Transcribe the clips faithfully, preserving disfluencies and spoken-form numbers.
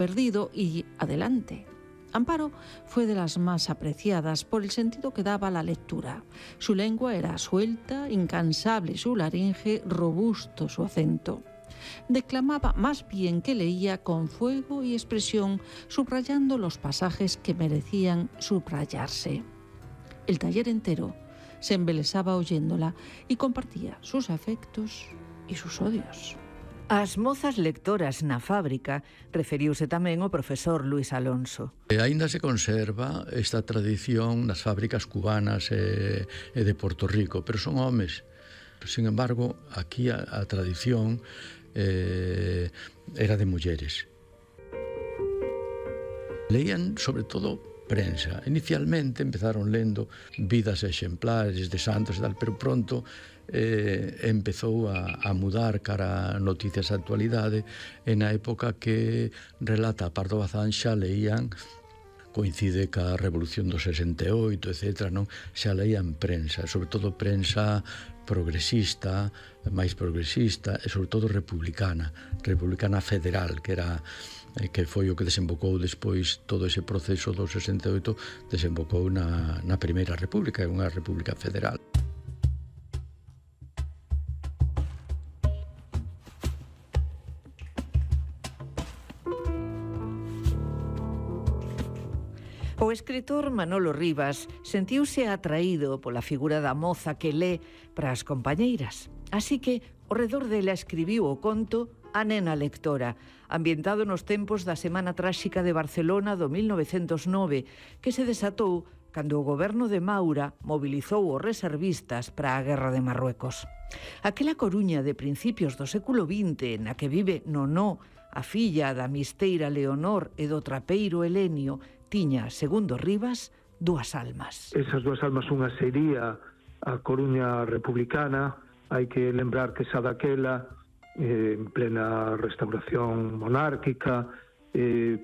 perdido y adelante. Amparo fue de las más apreciadas por el sentido que daba a la lectura. Su lengua era suelta, incansable su laringe, robusto su acento. Declamaba más bien que leía con fuego y expresión, subrayando los pasajes que merecían subrayarse. El taller entero se embelesaba oyéndola y compartía sus afectos e sus odios. As mozas lectoras na fábrica referiuse tamén o profesor Luis Alonso. E aínda se conserva esta tradición nas fábricas cubanas e, e de Porto Rico, pero son homes. Sin embargo, aquí a, a tradición eh, era de mulleres. Leían sobre todo prensa. Inicialmente empezaron lendo vidas exemplares de santos e tal, pero pronto eh, empezou a, a mudar cara a noticias de actualidade. E na época que relata Pardo Bazán xa leían, coincide ca Revolución do sesenta e oito, etcétera, non? Xa leían prensa, sobre todo prensa progresista, máis progresista e sobre todo republicana, republicana federal, que era que foi o que desembocou despois todo ese proceso do sesenta e oito, desembocou na, na Primeira República, unha república federal. O escritor Manolo Rivas sentiuse atraído pola figura da moza que lé para as compañeiras. Así que, ao redor dela escribiu o conto A nena lectora, ambientado nos tempos da Semana Tráxica de Barcelona do mil novecentos nove, que se desatou cando o goberno de Maura mobilizou os reservistas para a Guerra de Marruecos. Aquela Coruña de principios do século vinte, na que vive Nonó, a filla da misteira Leonor e do trapeiro Helenio, tiña, segundo Rivas, dúas almas. Esas dúas almas, unha sería a Coruña republicana. Hai que lembrar que xa daquela, eh, en plena restauración monárquica, eh,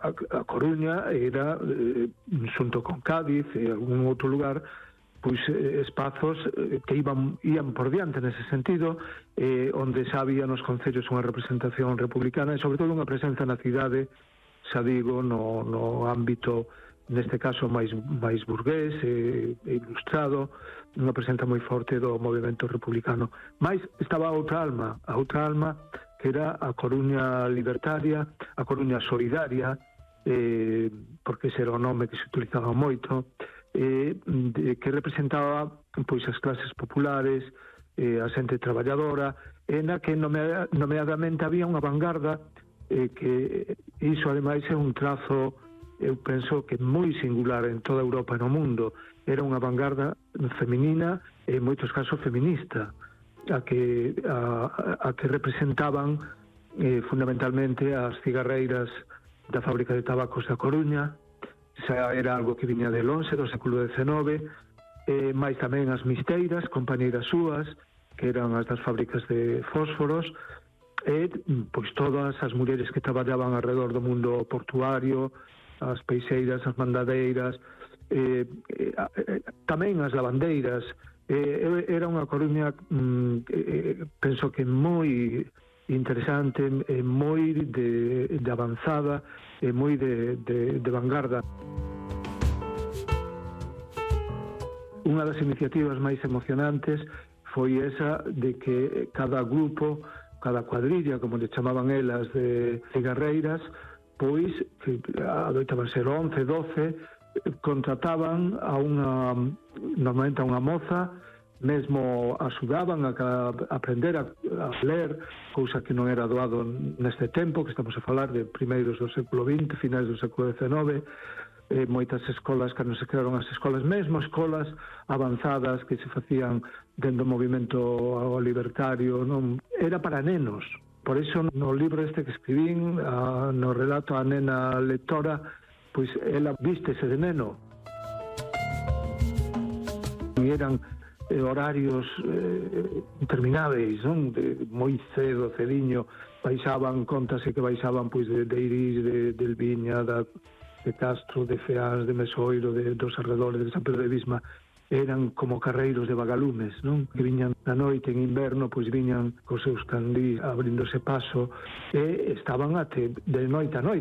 a, a Coruña era, eh, xunto con Cádiz e algún outro lugar, pois eh, espazos eh, que iban, ian por diante nese sentido, eh, onde xa había nos concellos unha representación republicana e sobre todo unha presenza na cidade, xa digo, no, no ámbito, neste caso máis, máis burgués e, e ilustrado, unha presenza moi forte do movimento republicano. Mais estaba a outra alma, a outra alma que era a Coruña libertaria, a Coruña solidaria, eh, porque ese era o nome que se utilizaba moito, eh, de, que representaba pois as clases populares, eh, a xente traballadora, e na que nomea, nomeadamente había unha vanguarda, eh, que iso ademais é un trazo, eu penso que moi singular en toda Europa e no mundo. Era unha vanguarda feminina e en moitos casos feminista, a que, a, a que representaban eh, fundamentalmente as cigarreiras da fábrica de tabacos da Coruña. Xa era algo que viña de lonxe, do século dezenove, eh, máis tamén as misteiras, compañeiras súas, que eran as das fábricas de fósforos, e pois todas as mulleres que traballaban alrededor do mundo portuario, as peixeiras, as mandadeiras, eh, eh, eh, tamén as lavandeiras. Eh, era unha Coruña, mm, eh, penso que moi interesante, eh, moi de, de avanzada, e eh, moi de, de, de vanguarda. Unha das iniciativas máis emocionantes foi esa de que cada grupo, cada cuadrilla, como le chamaban elas, de cigarreiras, pois, que adoitaban ser once, doce, contrataban a unha, normalmente a unha moza, mesmo axudaban a, a aprender a, a ler, cousa que non era doado neste tempo, que estamos a falar de primeiros do século vinte, finais do século dezenove, eh, moitas escolas, cando se crearon as escolas, mesmo escolas avanzadas que se facían dentro do movimento libertario, non era para nenos. Por iso no libro este que escribín, a, no relato A nena lectora, pois ela vístese de neno. E eran eh, horarios eh, intermináveis, non? De moi cedo, cediño, baixaban, contase que baixaban pois de, de Iris, de, de Elviña, da, de Castro, de Feás, de Mesoiro, de, dos arredores de San Pedro de Visma, eran como carreiros de vagalumes, non? Que viñan na noite en inverno, pois viñan cos seus candís abríndose paso e estaban até de noite a noite.